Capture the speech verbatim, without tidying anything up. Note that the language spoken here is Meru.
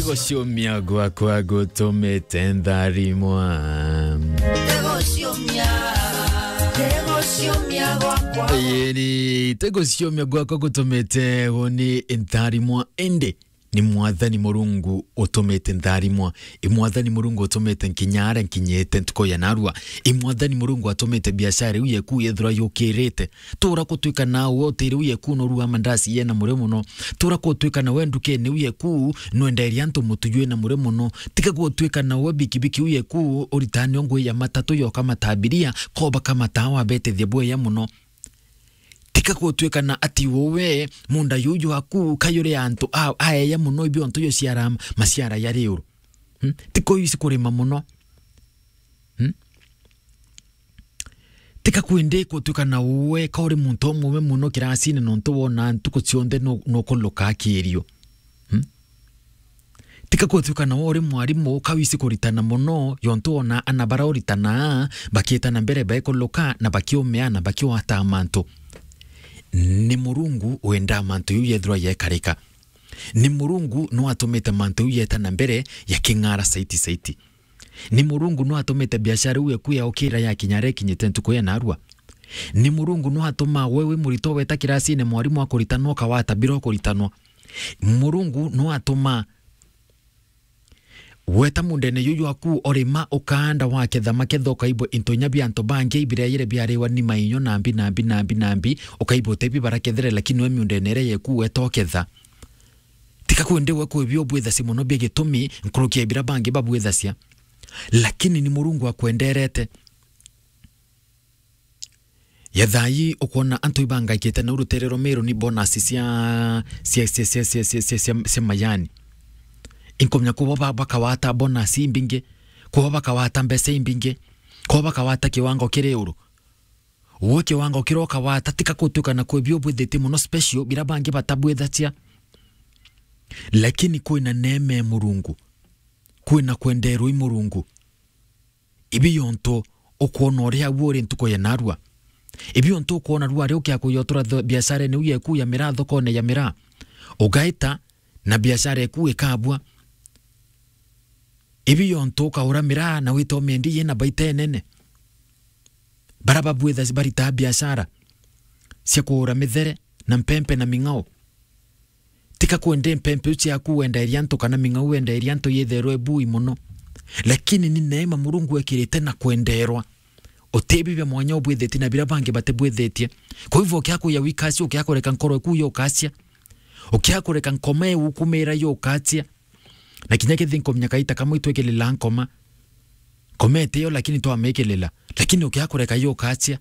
Guciumia gwakwa gutumite ntharimwa. Guciumia, guciumia gwakwa. Yeni, ti guciumia gwakwa gutumite uni ntharimwa, indi ni Mwathani Murungu utumite ntharimwa. I Mwathani Murungu utumite nkinya aria nkinyite ntuku ya narua. I Mwathani Murungu atumite biashara iu yeku yethirwa yukirite. Tura kutwika nawe utiri u yeku no rua mandasi yena muri muno. Tura kutwika nawe ndukene u yeku nwenderia antu mutu jwina muri muno. Tika gutwika nawe bikibiki u yeku uritane ngui ya matatu yoka matabiria, koba kamata wabetethia bweya muno. Tika gutwika na ati uwe munda yu jwaku kayuri antu a-, aeya muno ibio ntu yo ciara maciara ya riuru. Hmm? Tika uyu isi kurima muno. Hmm? Tika kwende gutwika na uwe ka uri muntu umwe muno kirasine nontu wona ntuku cionthe nu-, nukuluka akirio. Hmm? Tika gutwika na we uri mwarimu ka wisi kuritana muno, yontu wona ana bara uritanaa bakiitana mbere baikuluka na bakiumea na bakiwataa mantu. Ni Murungu wendaa mantu iu yethirwa yekarika. Ni Murungu no atumite mantu iu yeta na mbere ya king'ara saiti saiti. Ni Murungu no atumite biashara iu eku yaukira yakinya aria ikinyite ntuku ya narua. Ni Murungu no atuma we wi murito weta kirasine mwarimu akuritanwa ukawata bila ukuritanwa. Murungu no atuma weta mundene yu jwaku urima ukaanda waketha maketha ukaibwa into inya bia antu bangi ibireyire biariwa ni mainyo nambi nambi nambi nambi ukaibwa utebi barakethere lakini we miundene iria yeku weta uketha. Tika kwende we kwibio bwithacia muno bia gitumi nkuruki ya bira bangi babwithacia. Lakini ni Murungu akwenderete. Yethai ukwona antu ibangaikite nau rutere rwa Meru ni bonus cia, cia, cia mayani. Inkomya kubo ba-, bakawata bonus imbingi, kubo bakawata mbeca imbingi, kubo bakawata kiwango kiri uru. Uwe kiwango kiria ukawata tika kutuika na kwibio bwithitie muno special bira bangi batabwithacia. Lakini kwina neema ya Murungu, kwina kwenderwa i Murungu. Ibi yontu ukwona uria agu uri ntuku ya narua. Ibi yontu ukwona rua ri ukia kuyotura tho-, biashara ni uye ku ya miraa thokone ya miraa. Ugaita na biashara eku ikabua. Ibi yontu ukaura miraa na wita umiendi yina baita enene. Bara babwitha baritaa biashara cia kuura mithere na mpempe na ming'ao. Tika kwende mpempe u ciaku wenderia antu kana ming'au wenderia antu yitherwe bui muno. Lakini ni neema Murungu ekirite na kwenderwa. Utebi bia mwanya ubwithitie na bira bangi batibwithitie. Kwa hivyo ukia kuya wikacia, ukia kureka nkoro eku yukacia. Ukia kureka nkoma eu kumira yukacia. Na kinya kithi nkomnya kaita kamwe itwikilila nkoma. Nkoma itiyo lakini twamikilila. Lakini ukia kureka yukacia.